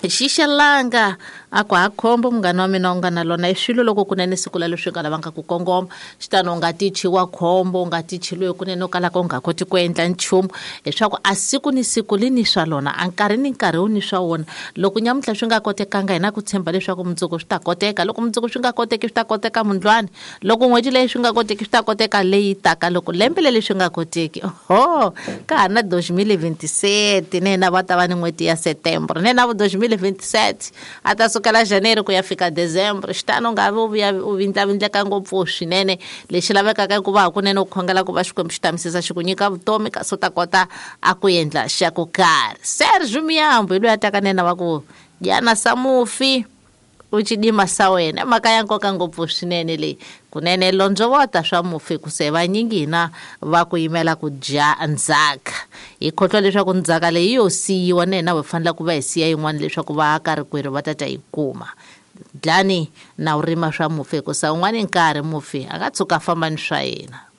Xixelanga a ku ha khombo munghana wa mina u nga na lona i swilo loko kunene siku la leswi nga lavanga ku kongoma xitano u nga tichi wa khombo u nga tichi loyi kunene u kalaka u nga koti ku endla nchumu leswaku a siku ni siku li ni swa lona a nkarhi ni nkarhi wu ni swa wona. Loko nyamuntlha swi nga kotekanga hi na ku tshemba leswaku mundzuku swi ta koteka, loko mundzuku swi nga koteki swi ta koteka mundlwani, loko n'hweti leyi swi nga koteki swi ta koteka leyi taka, loko lembe leri swi nga koteki oho ka ha na 2027 na yena va ta va ni n'hweti ya September na yena vo 2027 a ta sukela January ku ya fika December. Xitano u nga vi u vuya u vindlavindleka ngopfu swinene, lexi lavekaka i ku va hakunene u khongela ku va Xikwembu xi tamisisa xi ku nyika vutomi kasi u ta kota a ku endla xa ku karhi. Serge Miyambo hi loyi a taka na yena va ku dyana sa mufi u cidima sa wena, i mhaka ya nkoka ngopfu swinene leyi. Kunene londzovota swa mufi hikusa hi vanyingi hina va ku yimela ku dya ndzhaka. Hi khohlwa leswaku ndzhaka leyi yo siyiwa na hina hi fanele ku va hi siya yin'wana leswaku vaaka rikwerhu va ta ta yi kuma. Dlani na u rima swa mufi hikusa un'wana nkarhi mufi a nga tshuka a famba ni swa yena.